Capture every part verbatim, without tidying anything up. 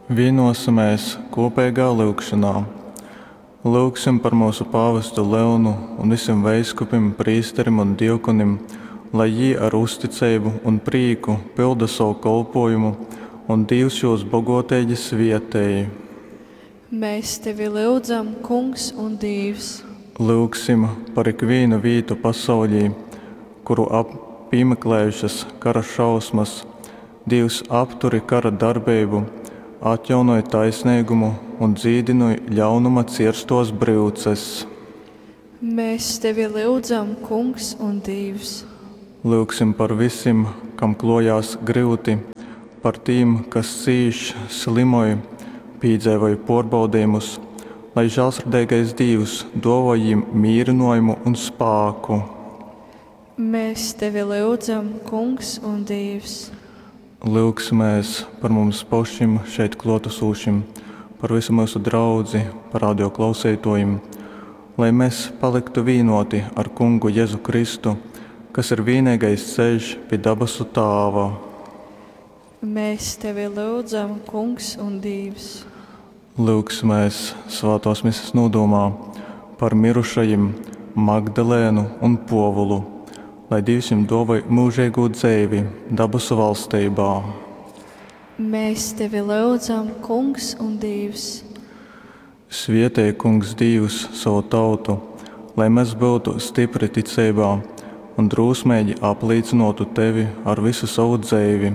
Vienosimies kopīgā lūgšanā. Lūgsim par mūsu pāvestu Leonu un visiem veiskupim, prīsterim un diakonim, lai jī ar uzticeibu un prīku pilda savu kolpojumu un Dīvs jūs bogoteigi svietej. Mēs tevi lyudzam, Kungs un Dīvs. Lūgsim par ikvīnu vītu pasaulī, kuru ap, pīmeklējušas kara šausmas. Dīvs apturi kara darbeibu, atjaunoj taisneigumu un dzīdinoj ļaunuma cierstos bryuces. Mēs tevi lyudzam, Kungs un Dīvs. Lūgsim par visim, kam klojās gryuti, par tīm, kas cīš, slimoj, pīdzeivoj puorbaudejumus, lai žālsirdeigais Dīvs duovoj jīm mīrynuojumu un spāku. Mēs tevi lyudzam, Kungs un Dīvs. Lūgsimies par mums pašim šeit kluotesošim, par visu mūsu draudzi, par radio klausītājiem, lai mēs paliktu vienoti ar Kungu Jēzu Kristu, kas ir vienīgais ceļš pie dabasu Tāva. Mēs tevi lyudzam, Kungs un Dīvs. Lūgsimies svētās mises nodomā par mirušajiem Magdalēnu un Povulu, lai Dievs viņiem dāvoj mūžīgo dzeivi dabasu valstībā. Mēs tevi lyudzam, Kungs un Dīvs. Svietej, Kungs Dīvs, savu tautu, lai mēs būtu stipri ticeibā un drūsmīgi aplīcinotu tevi ar visu savu dzeivi,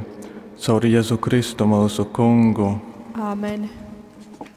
caur Jēzu Kristu mūsu Kungu. Āmen.